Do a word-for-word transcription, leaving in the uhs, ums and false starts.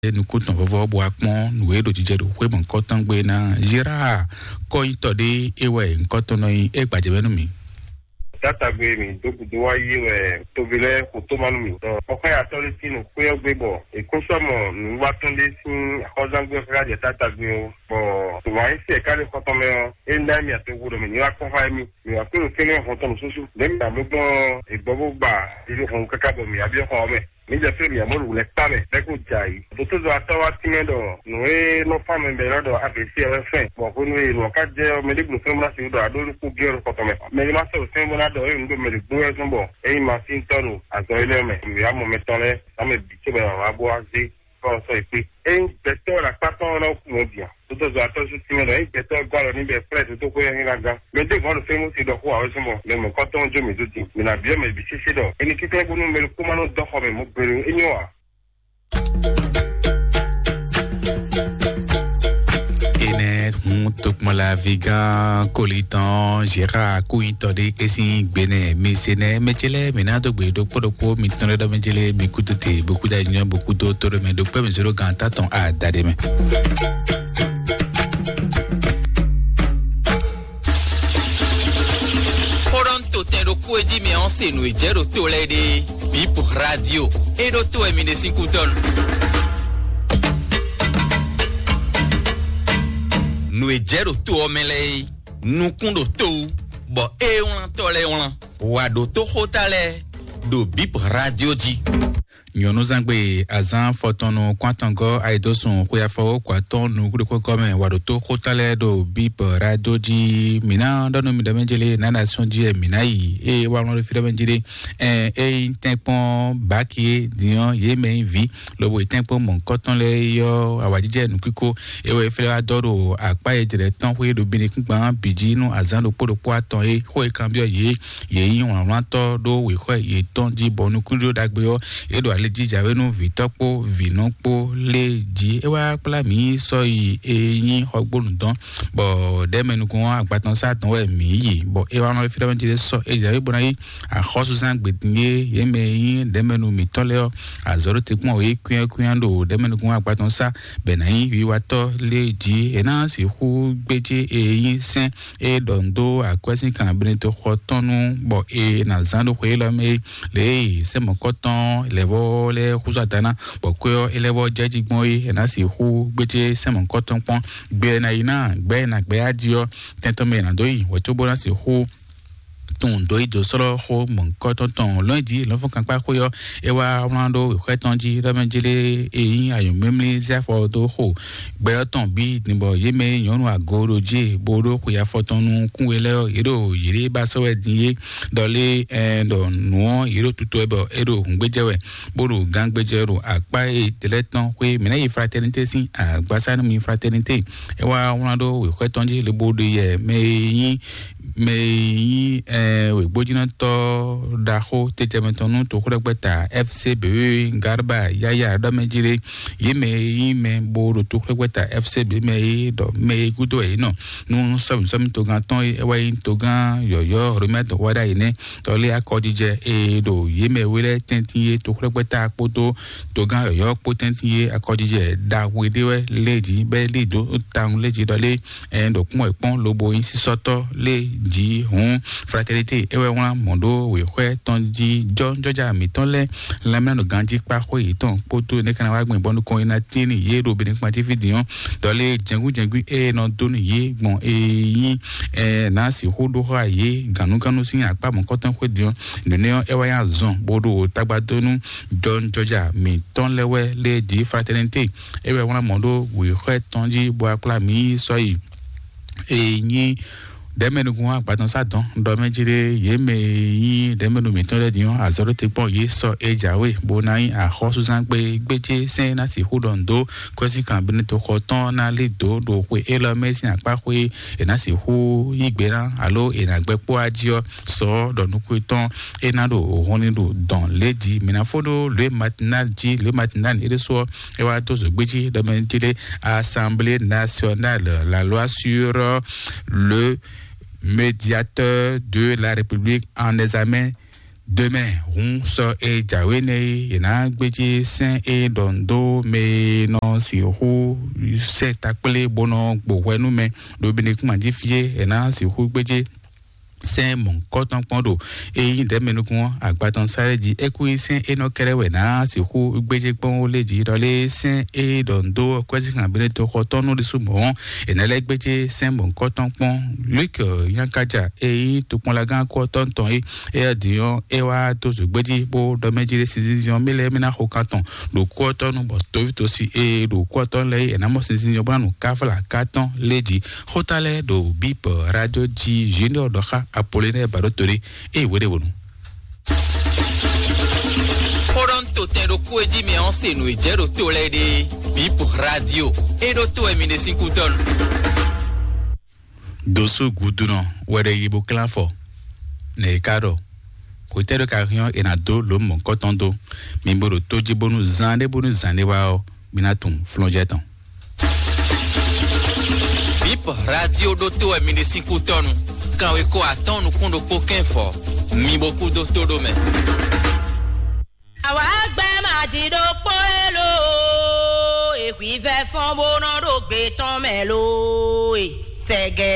nukúntɔn vɔvɔ bó wá kpɔ́n nǔ e ɖo jijɛ ɖo xwé mɔ̌hunkɔtɔn gbe ná Gérard kɔ́nyitɔ ɖé é wɛ nyǐkɔ tɔn nɔ nyi é gbajɛ mɛ nú mì. Tátagbe mi dó gǔdo wá yí wɛ tovi lɛ́ɛ xo tó ma nú mi. Kɔkɔ́ ya tɔ́ ɖé sín nǔ xwé ɔ́ gbé bɔ è kún sɔ́ mɔ nǔwiwa tɔn ɖé sín axɔ́zángbé xá jɛ Tátagbe ó. Bɔ wǎn yí sí ɛ̀ká ɖé xɔtɔn mɛ ɔ́, é ná mì atoxo ɖɔ mì ní wá kpɔ́n xá émí. Mì wǎ kpé ɖo tɛ́nɛ hɔn tɔn nǔsúsú. Lě mì amlú gbɔn è gbɔ bó gba ɖiɖi hɔn káká bɔ mǐ ya byɔ́ xɔ ɔ́ mɛ. Mǐ jɛ fí mǐ amɔ̌ wǔlɛ́ kpá mɛ bɛ́ kó jɛ ayǐ. Dotó zɔ atɔ́ wá tínmɛ ɖɔ nǔ e nɔ fá mɛ bɛ́ lɔ ɖɔ A V C ɔ́ wɛ fɛn. Bɔ hwenu e nǔ ɔ́ ka jɛ ɔ́, mɛɖé gblǒ fɛ́n bó ná sixú ɖɔ aɖó ɖokpó byɔ́ ɖo kɔtɔn mɛ. Mɛɖé má sɔ́ ɖo fɛ́n bó ná ɖɔ é nǔ ɖo mɛ ɖě gbó wɛ zɔ́n bɔ é nyí masíntɔ́ ɖo azɔ̌ énɛ́ mɛ. Mǐ wá mɔ mɛtɔn lɛ́ɛ, ná mɛ bǐ cóbɔ è nǎ wá bó wá zé kɔ sɔ́ yě kpé. Ényí gbɛtɔ́ ɖo akpá tɔn ɔ́ ná kú mɔ̌ din a? Dotó zɔ atɔ́ sú tínmɛ ɖɔ ényí gbɛtɔ́ gɔ́ alɔ n'i bɔ è kplá ɛ dó xwé ɔ́, é ná gán. Mɛ ɖěbǔ wá ɖo fɛ́nú si ɖɔ xó ǎ wɛ zɔ́n bɔ mɛ mɔ̌kɔtɔn jó mǐ dó din. Mǐ ná byɔ́ mɛ bǐ sésé ɖɔ è nǐ kínkɛ́n bónú mɛ ɖokpó má nɔ dɔ́ xɔ mɛ mɔ̌ gbeɖé ó. É nyɔ́ ǎ. Enɛ hun tokpɔnlavi gán kolitɔn Gérard kúnyitɔ ɖé é sín gbenɛ mi se nɛ mɛ ce lɛ́ɛ mi ná dó gbe ɖokpó ɖokpó mi tɔn ɖé ɖɔ mɛ ce lɛ́ɛ mi kútu te bó kúta nyɔ bó kúdo tó ɖɔ mɛ ɖokpó mi zéro gán tatɔn adaɖe mɛ. Xó ɖɔ ń to tɛn ɖokpó e jí mi ɔ́ se nǔ e jɛ ɖo to lɛ́ɛ ɖe. Bip Radio. E ɖo to wɛ mi ɖe sín kútɔ́ nu. Nǔ e jɛ ɖo to ɔ́ mɛ lɛ́ɛ é, nukún ɖo to wú, bɔ é wlántɔ́ lɛ́ɛ wlán. Wǎ ɖo toxóta lɛ́ɛ ɖo Bip Radio jí. Nyɔ̌núzangbe azán fɔtɔnnu kɔn atɔngɔ́ ayidosùn xwe afɔwó kɔ atɔn nukúɖokpɔ́kɔ mɛ wǎ ɖo tó xóta lɛ́ɛ ɖo Bip Radio jí. Mǐ ná ɖɔ nú mi ɖɔ mɛ jélé nánasɔn jí wɛ mǐ ná yi. Ée wá wlɔ́n ɖo fí ɖɔ mɛ jélé. Ɛ ényí tɛ́nkpɔ́n báki é din ɔ́, yě mɛ nyí vǐ, lobo yi tɛ́nkpɔ́n mɔ̌hunkɔtɔn lɛ́ɛ é ɔ́, awǎjijɛ nǔkíko é wɛ é flɛ́ wá dɔ́ ɖo akpá e jlɛ̌ tɔn xwé ɖo binukúngban bǐ jí nú azǎn ɖokpó ɖokpó atɔn é. Xó e kanbyɔ́ yě, yě nyí wlǎnwlántɔ́ ɖó wěxɔ yětɔn jí, bɔ nukúnɖíɖó ɖagbe ɔ́, é ɖo ali jí jǎwe nú vǐtɔ́ kpó vǐnɔ kpó lé jí. É wá kplá mǐ sɔ́ yi e nyí xɔgbónu dɔn, bɔ ɖɛ̌mɛnukún ɔ́ agbatɔnsá dɔn wɛ mǐ yi, bɔ é wá nɔ fí ɖɔ mɛ jí sɔ́ é jǎwe bó ná yí axɔ́súzán gbědín e yě mɛ e nyí ɖɛ̌mɛnu mǐtɔn lɛ́ɛ ɔ́, azɔ̌ ɖó te kpɔ́n wě kwínyákwínyá ɖo ɖɛ̌mɛnukún agbatɔnsá, bɛ ná nyí wiwatɔ́ lé jí. È ná sixú gbéjé e nyí sɛ́n e ɖɔ nǔ dó akwɛ́sínkan Benedikto xɔ tɔn nu, bɔ è nǎ zán ɖo xwe élɔ́ mɛ é. Lě e sɛ́n mɔ̌kɔtɔn lɛ̌vɔ́ lɛ́ɛ xúzú ada ná, bɔ kwɛ́ ɔ́ é lɛ́ vɔ́ jɛ jí gbɔn é, è nǎ sixú gbéjé sɛ́n mɔ̌kɔtɔn kpɔ́n. Gbɛ e è nǎ yi ná gbɛ̌ è nǎ gbɛ́ á jí ɔ́, tɛn tɔn mɛ è nǎ dó yi wɛ̌ cóbó ná sixú tunwun dǒ yi dǒ slɔ́ xó mɔ̌hunkɔtɔn tɔn lɔ̌nyijǐ lɔ̌nfɔ́nkankpá xwé ɔ́, é wá wlán ɖó wěxwɛ́ tɔn jí ɖɔ mɛ jlé e nyí anyǔmlímlí zé afɔ dó xo gbɛ ɔ́ tɔn bǐ din, bɔ yě mɛ e nyɔ̌nu ago ɖo jí bó ɖó xwe afɔ tɔn nukún we lɛ́ɛ ɔ́, yě ɖo yěɖée ba sɔ́ wɛ din é. Ɖɔ lé ɛn ɖɔ nǔ ɔ́, yě ɖo tutu wɛ bɔ é ɖo hǔngbéjɛ wɛ, bó ɖo gángbéjɛ ɖo akpá e tɛlɛ́ tɔn xwé mǐ ná yi fraternité sín agbásá nú mi fraternité. É wá wlán ɖó wěxwɛ́ tɔn jí lobo ɖe yɛ mɛ e nyí mɛ e nyí ɛ wěgbójínɔtɔ́ ɖaxó tejɛmɛ tɔn nú toxóɖɛgbɛta F C B Garba Yaya ɖɔ mɛ jí ɖé. Yě mɛ e nyí mɛ bó ɖo toxóɖɛgbɛta F C B mɛ é ɖɔ mɛ e gúdo wɛ yě nɔ nú sɔ́mǐsɔ́mí togán tɔn é wá nyí togán yɔ̌yɔ́ Romɛ́ dɔ̌xwáɖá yě nɛ́. Tɔlé akɔjijɛ e ɖo yě mɛ we lɛ́ɛ tɛ́ntin é toxóɖɛgbɛta kpódó togán yɔ̌yɔ́ kpó tɛ́ntin é akɔjijɛ ɖaxó ɖé wɛ lé jí bɛ́ lí dó tawun lé jí ɖɔ lé ɛ ɖo kpɔ́n wɛ kpɔ́n lobo nyí sísɔ́tɔ́ lé jí hǔn fraternité é wɛ wlán mɔ̌ ɖó wěxwɛ́ tɔn jí jɔ́jɔ́já mǐtɔn lɛ́ɛ lanmɛnɔ ganjí kpá xwé yětɔn kpódó nɛ́ ká ná wá gbìn bɔ nukɔn é ná tín nú yě ɖo Benin kpantífí din ɔ́, ɖɔ lé jɛngbíjɛngbí é nɔ dó nú yě gbɔn é nyí ɛ ná sixú ɖó xá yě gǎnúgánú sín akpá mɔ̌kɔtɔn xwé din ɔ́, nǔnɛ́ ɔ́ é wá nyí azɔn bó ɖo tagba dó nú jɔ́jɔ́já mǐtɔn lɛ́ɛ wɛ lé jí fraternité é wɛ wlán mɔ̌ ɖó wěxwɛ́ tɔn jí bó wá kplá mǐ sɔ́ yi. E nyí ɖɛ̌mɛnukún agbatɔnsá dɔn ɖɔ mɛ jí ɖé yě mɛ e nyí ɖɛ̌mɛnu mǐtɔn lɛ́ɛ din ɔ́, azɔ̌ ɖó te kpɔ́n yě sɔ́ é jǎwe bó ná nyí axɔ́súzán gbe gbéjé sɛ́n ná sixú ɖɔ nǔ dó kwɛ́sínkan Benedikto xɔ tɔn ná lí dǒ ɖo xwe élɔ́ mɛ sín akpá xwé è nǎ sixú yí gbe ná alo è nǎ gbɛ́ kpó wá jí ɔ́, sɔ ɔ́ ɖɔ nukún tɔn é ná ɖo hɔnni ɖo dɔn lě jí. Mǐ ná fó ɖó lě matinal jí, lě matinal é ɖésú ɔ́, é wá dó zǒgbéjí ɖɔ mɛ jí ɖé Assemblée nationale, la loi sur le médiateur de la République en examen Demain, hun sɔ e jǎwe nɛ e, è nǎ gbéjé sɛ́n e ɖɔ nǔ dó mɛ e nɔ sixú sɛ takplé bó nɔ gbo hwɛ nú mɛ ɖo Benekúnma jí fí é, è nǎ sixú gbéjé sɛ́n mɔ̌hunkɔtɔn kpɔ́n ɖo e nyí ɖɛ̌mɛ nukún ɔ́ agba tɔn sáré jí. É kú nyí sɛ́n e nɔ kɛ́ɖɛ́ wɛ ná sixú gbéjé kpɔ́n ó lé jí ɖɔ lé sɛ́n e ɖɔ nǔ dó kwɛ́síxan Benedikto xɔ tɔn nú ɖésú mɔ̌ ɔ́, è nǎ lɛ́ gbéjé sɛ́n mɔ̌hunkɔtɔn kpɔ́n. Luke Nyankaja e nyí tokpɔnlagán kú ɔ́ tɔn tɔn é, éyɛ́ din ɔ́, é wá dó zǒgbéjí bó ɖɔ mɛ jí ɖé sinzínzín ɔ́, mí lɛ́ɛ mí ná xo kan tɔn ɖo kú ɔ́ tɔn nu, bɔ tovítɔ́si e ɖo kú ɔ́ tɔn lɛ́ɛ é, è nǎ mɔ sinzínzín ɔ́ bó ná nu káfla ká tɔn lé jí. Xóta lɛ́ɛ ɖo bíp radio jí Junior ɖɔ xá Apollinaire Baɖótolé, ée wéɖéwonu. Xóɖɔ́ntotɛn ɖokpó e jí mɛ ɔ́ se nǔ e jɛ ɖo to lɛ́ɛ ɖe. Bíp radio, é ɖó to wɛ mi ɖe sín kútɔ́nu. Dosú gudunɔ wɛ ɖe yi bó klán afɔ. Nɛ e ka ɖɔ, xwetɛ́ ɖo ka hɛn ɔ́, è nǎ dó lǒ mɔ̌kɔtɔn dó. Mi bo ɖo tó jí bónú zán ɖé bónú zán ɖé wá ɔ́, mi ná tunwun flɔ́njɛ́ tɔn. Bip radio ɖótó wɛ mi ɖe sín kútɔ́nu. Kanwekó atɔ́ɔ́n nukún ɖokpó kɛ́n fɔ. Mi bo kú dó tó ɖó mɛ. Àwa gbẹ́ máa jí ɖokpó élòó, èhwívẹ́ fɔ́n bó nɔ ɖó gbé tɔn mɛ lóó, e sɛgɛ.